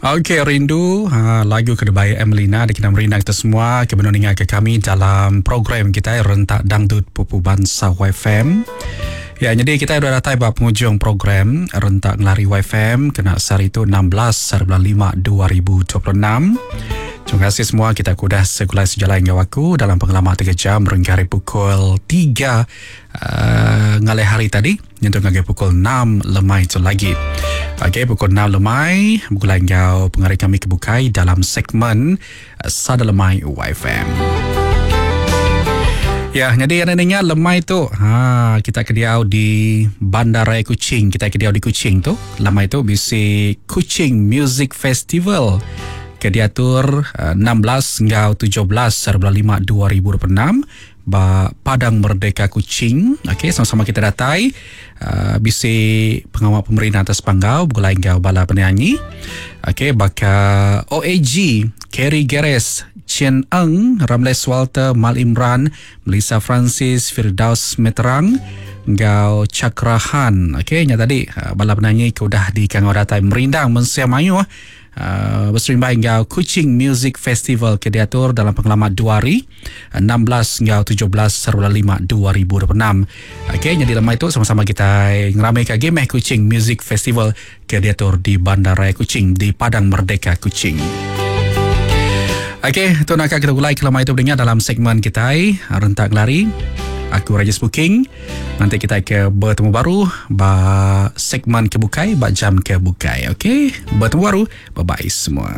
Okey rindu ha, lagu ke dibai Emelina dikena merindang kita semua ke benung ninga ke kami dalam program kitai Rentak Dangdut Pupu Bansa YFM. Ya, jadi kita sudah datai ba penghujung program Rentak Ngelari YFM kena sehari tu 16 hari bulan 5 2026. Terima kasih semua kita ke udah segulai sejalai enggau aku dalam pengelama 3 jam berengkah hari pukul 3 uh, ngalih hari tadi nyentuk ngagai pukul 6 lemai tu lagi. Okey, pukul 6 lemai begulai enggau pengari kami ke bukai dalam segmen eh, Sada Lemai YFM. Ya, jadi anda ninga lemai tu, ha, kita ke diau di Bandaraya Kuching, kita ke diau di Kuching tu, lemai tu bisi Kuching Music Festival ke diatur 16 eh, enggau 17 hari bulan 5 2026 ba Padang Merdeka Kuching. Okey, sama-sama kita datai uh, bisi pengawa pemerintah atas panggau begulai enggau bala penyanyi. Okey, baka OAG, Kerry Geres, Chen Eng, Ramles Walter, Mal Imran, Melissa Francis, Firdaus Meterang enggau Chakra Han. Okey, nya tadi uh, bala penyanyi ke udah dikangau datai merindang mensia mayuh Beserimbai enggau Kuching Music Festival ke diatur dalam pengelama dua hari, 16 enggau 17 hari bulan 5 2026. Okey, nyadi lemai tu sama-sama kitai ngeramai ke agi meh Kuching Music Festival ke diatur di Bandaraya Kuching di Padang Merdeka Kuching. Okey, tu naka kita gulai ke lemai tu beringat dalam segmen kitai Rentak Ngelari. Aku Rajesh Booking. Nanti kita ke bertemu baru ba segmen ke bukai ba jam ke bukai. Okey, bertemu baru. Bye bye semua.